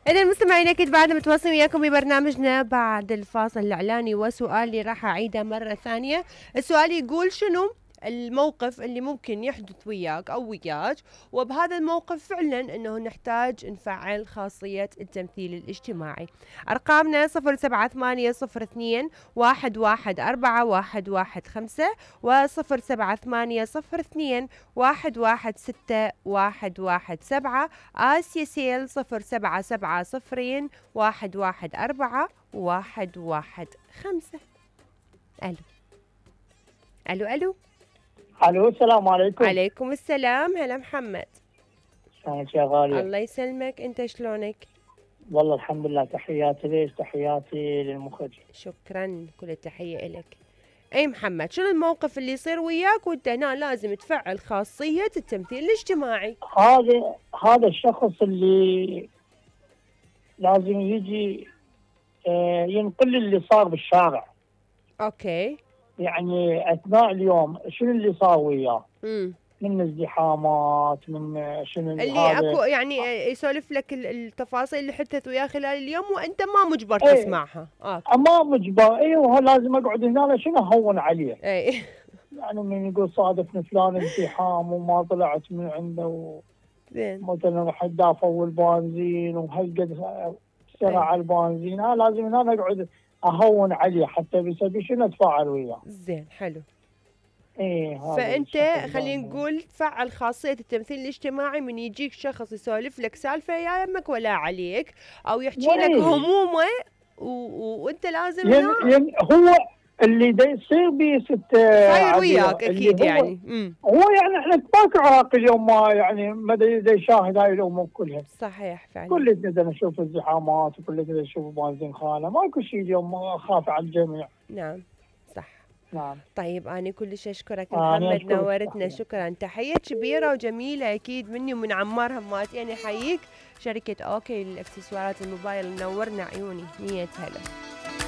إذا المستمعين أكيد بعد متواصلين وياكم ببرنامجنا بعد الفاصل الإعلاني، وسؤالي راح أعيده مرة ثانية. السؤال يقول شنو الموقف اللي ممكن يحدث وياك أو وياك وبهذا الموقف فعلا أنه نحتاج نفعل خاصية التمثيل الاجتماعي. أرقامنا 0780211415 و0780211617. آسيا سيل 0770114115. ألو ألو ألو. الو السلام عليكم. عليكم السلام. هلا محمد. شلونك يا غالية؟ الله يسلمك، انت شلونك؟ والله الحمد لله. تحياتي ليش؟ تحياتي للمخرج. شكرا، كل التحية إلك. اي محمد، شنو الموقف اللي يصير وياك وانت هنا لازم تفعل خاصية التمثيل الاجتماعي؟ هذا الشخص اللي لازم يجي ينقل اللي صار بالشارع. اوكي. يعني اثناء اليوم شنو اللي صار وياه؟ من ازدحامات، من شنو اللي اكو يعني يسولف لك التفاصيل اللي حدثت وياه خلال اليوم وانت ما مجبر تسمعها. ما مجبر. ايوه لازم اقعد هنا شنو اهون عليه. اي يعني من يقول صادفني فلان ازدحام وما طلعت من عنده مثلا راح دافعوا البنزين وهالقد سرع البنزين، لازم هنا اقعد اهون عليه حتى بيسوي شنو اتفاعل وياه. زين حلو. ايه فانت خلينا نقول تفعل خاصيه التمثيل الاجتماعي من يجيك شخص يسولف لك سالفه يا يمك ولا عليك او يحكي لك همومه وانت لازم هو اللي دا يصير بيه صاير وياك اكيد يعني. هو يعني احنا باكر عراق اليوم ما يعني ما دا يشاهد هاي الامور كلها. صحيح فعلا. كلنا دا نشوف الزحامات وكلنا دا نشوف بنزين خانه، ماكو شيء اليوم خاف على الجميع. نعم صح. نعم. طيب أنا كلش أشكرك محمد، نورتنا. شكرا، تحية كبيرة وجميلة أكيد مني ومن عمار هماتي. أنا أحييك شركة أوكي للإكسسوارات الموبايل، منورنا عيوني. 100 هلا.